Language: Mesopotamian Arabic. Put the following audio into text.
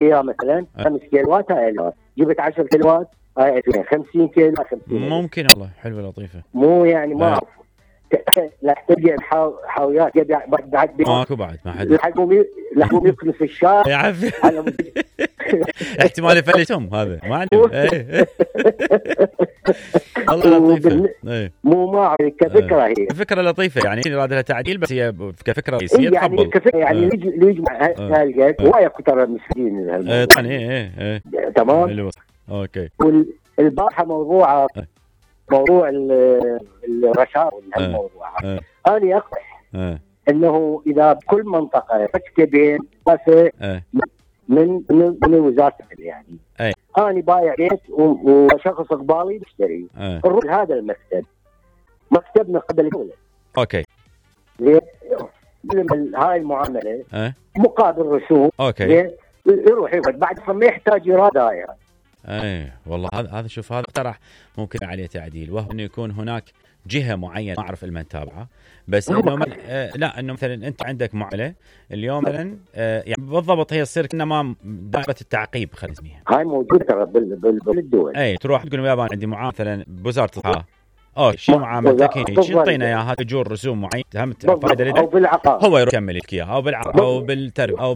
فيها مثلا 5 كيلوات هاي 1000، جبت 10 كيلوات هاي 2000، 50 كيلو 50. ممكن والله حلوه لطيفه. مو يعني ما اعرف لا تلقى حاويات بعد ماكو بعد ما حد لحقوا يكنوا في الشارع يا عفي احتمال يفلتهم هذا ما عندهم. والله لطيفه. مو ما اعرف كفكره هي فكره لطيفه يعني يراد لها تعديل، بس هي كفكره رئيسيه يعني تقبل يعني يجمع هالقد ويكثر المسجين. طبعا تمام. اوكي. والبارحه موضوع الرشاوي هالموضوع انا اقترح انه اذا بكل منطقه تكتبين من وزاره يعني انا بايع بيت وشخص قبالي بيشتري، نروح هذا المكتب، مكتب من قبل الدوله. اوكي. هاي المعامله مقابل رسوم. اوكي. يروح يقعد بعد ما يحتاج اراده. والله هذا شوف هذا اقترح ممكن عليه تعديل، وهو انه يكون هناك جهه معينه ما اعرف المن تابعه، بس انه لا انه مثلا انت عندك معامله اليوم مثلا يعني بالضبط هي تصير كانما دائره التعقيب خلينا نسميها. هاي موجوده ترى بالدول. تروح تقول يابا عندي معامله مثلا بوزاره الصحه، شو معاملتك هي؟ شو تعطينا اياها؟ اجور رسوم معينه هم فائده او بالعقار هو يروح يكمل لك اياها، او بالعقار او بالتربيه او